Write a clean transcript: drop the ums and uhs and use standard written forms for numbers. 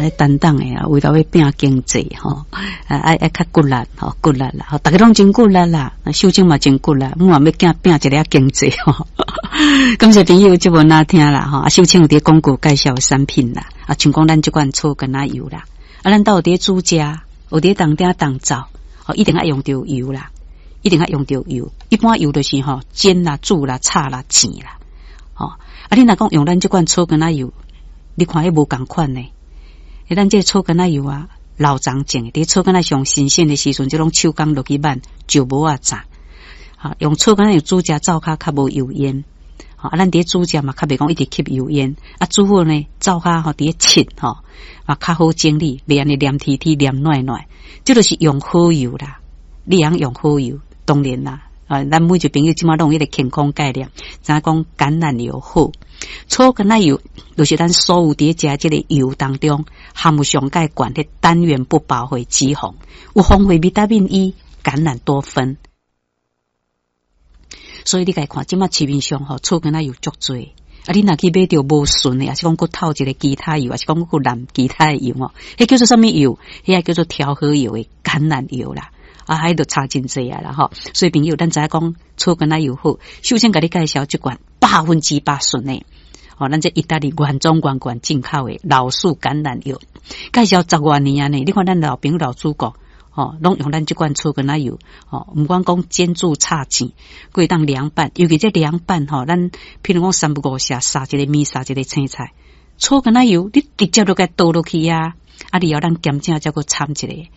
擔當的啊，為著欲拚經濟吼，啊愛愛較骨力吼，骨力啦，吼，逐家攏真骨力啦，秀清嘛真骨力，我嘛欲拚拚一下經濟吼。感謝朋友節目聆聽啦，吼，啊，秀清有佇廣告介紹產品啦，啊，像講咱這款草橄欖油啦，啊，咱兜有佇煮食，有佇當鼎當灶，吼，一定愛用著油啦，一定愛用著油。一般油就是吼煎啦、煮啦、炒啦、煎啦，吼。啊，你若講用咱這款草橄欖油，你看彼無仝款呢？咱這個草橄欖油啊，老欉種的，佇草橄欖上新鮮的時陣，這攏手工落去挽，石磨仔榨。哈，用草橄欖油煮食，灶跤較無油煙。啊，咱佇煮食嘛，較袂講一直吸油煙。啊，煮好呢，灶跤吼佇咧拭吼，嘛較好整理，袂按呢黏貼貼、黏軟軟。這就是用好油啦，你會用好油，當然啦。啊，咱每一個朋友這馬攏有彼個健康概念，知影講橄欖油好。草橄欖油就是咱所有佇咧食這个油當中含有上蓋懸的單元不飽和脂肪，有豐富維他命 E、橄欖多酚。所以你共看，這馬市面上吼草橄欖油足濟。啊，你若去買著無純的，抑是講閣透一个其他油，抑是講閣摾其他的油吼，彼叫做啥物油？彼个叫做調和油的橄欖油啦。啊，彼就差真濟啊啦吼。所以朋友，咱知影講草橄欖油好，首先共你介紹這款100%純的。哦，咱這意大利原裝原罐進口的老樹橄欖油，介紹十外年啊呢。你看咱老朋友老主顧，吼，攏用咱這款草橄欖油，吼，毋管講煎煮炒煎，閣會當涼拌，尤其這涼拌吼，咱譬如講三不五時撒一个麵，撒一个青菜，草橄欖油，你直接就共倒落去啊！啊，你後咱鹹醬才閣摻一下。